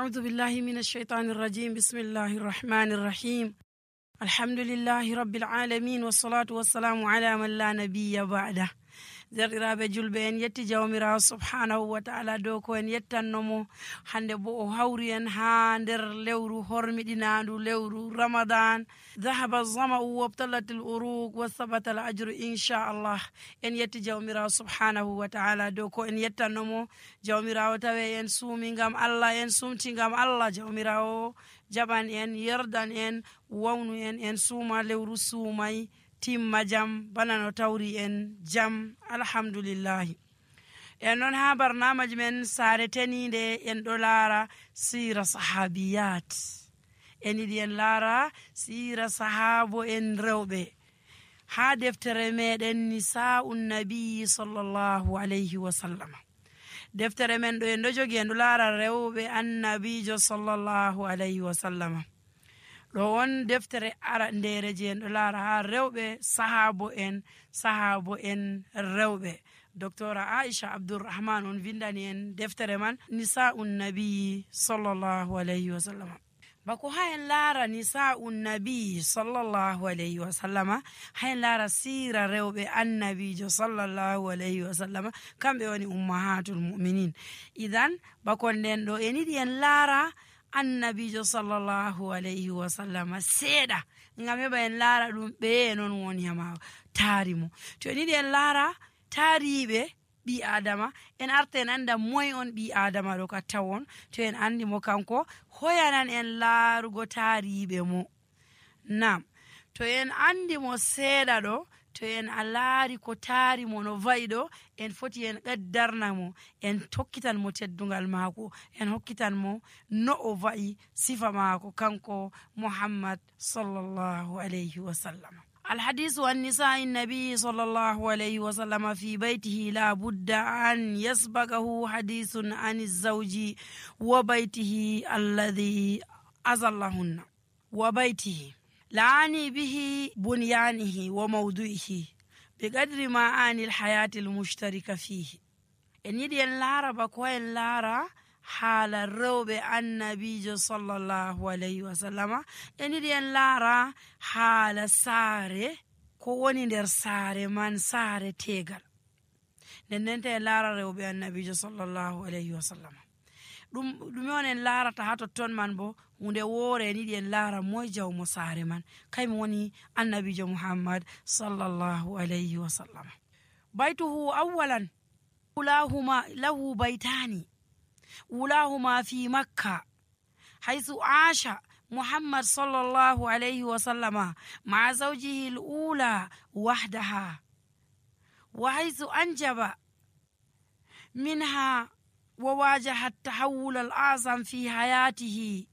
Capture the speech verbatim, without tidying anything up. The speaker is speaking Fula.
أعوذ بالله من الشيطان الرجيم. بسم الله الرحمن الرحيم. الحمد لله رب العالمين، والصلاة والسلام على من لا نبي بعده. Derɗiraaɓe julɓe, en yetti Jawmiraawo subhaanahu wa ta'ala dow ko en yettanno mo hannde, bo o hawri en haa nder lewru hormiɗinaandu, lewru Ramadan. ذهب الظمأ وابتلت العروق وثبت الأجر إن شاء الله. En yetti Jawmiraawo subhaanahu wa ta'ala dow ko en yettanno mo. Jawmiraawo tawe en suumi ngam Allah, en sumti ngam Allah. Jawmiraawo jaɓan en, yerdan en, wawnu en, en suuma lewru suumay, timma jam, bana no tawri en jam. Alhamdulillahi. En ɗon haa barnaamaj men saare teniinde, en ɗo laara siira sahaabiyat. En yiɗi en laara siira sahaabo en rewɓe haa deftere meɗen Nisaa'un Nabi sallallahu alayhi wa sallama. Deftere men ɗo en ɗo jogi, en ɗo laara rewɓe Annabiijo sallallahu alayhi wa sallama. Ɗo on deftere arandeere je en ɗo laara haa rewɓe sahaabo en, sahaabo en rewɓe. Doktora Aisha Abdurrahman on vindani en deftere man, Nisaa'un Nabi sallallahu alayhi wa sallama. Bako haa en laara Nisaa'un Nabi sallallahu alayhi wa sallama, haa en laara siira rewɓe Annabiijo sallallahu alayhi wa sallama, kamɓe woni ummahatul mu'minin. Idan, bako nden ɗo en yiɗi en laara Annabiijo sallallahu alayhi wa sallama seeɗa, ngam heɓa en laara ɗum ɓeye non woni haa taari mo. To en yiɗi en laara taariiɓe ɓii Aadama, en arta en annda moy on ɓii Aadama ɗo ka tawon. To en anndi mo kanko, hoyanan en laarugo taariiɓe mo. Naam, to en anndi mo seeɗa ɗo, to en a laari ko taari mo no va'i ɗo, en foti en qaddarna mo, en hokkitan mo teddungal maako, en hokkitan mo no o va'i sifa maako kanko Muhammad sallallahu alayhi wa sallam. الحديث عن نساء النبي صلى الله عليه وسلم في بيته لا بد أن يسبقه حديث عن الزوج وبيته الذي أظلهن وبيته، لأعني به بنيانه وموضوعه بقدر ما أعني الحياة المشتركة فيه. En yiɗi en laara bako en laara haala rewɓe Annabiijo sallallahu alayhi wa sallama. En yiɗi en laara haala saare, ko woni nder saare man, saare teegal. Nden nden ta en laara rewɓe Annabiijo sallallahu alayhi wa sallama. Ɗum, ɗume on en laarata haa totton man bo? Huunde woore en yiɗi en laara moy jawmo saare man. Kaymo woni Annabiijo Muhammad sallallahu alayhi wa sallama. بيته أولا، أولاهما، له بيتان، أولاهما في مكة، حيث عاش محمد صلى الله عليه وسلم مع زوجه الأولى وحدها، وحيث أنجب منها وواجه التحول الأعظم في حياته،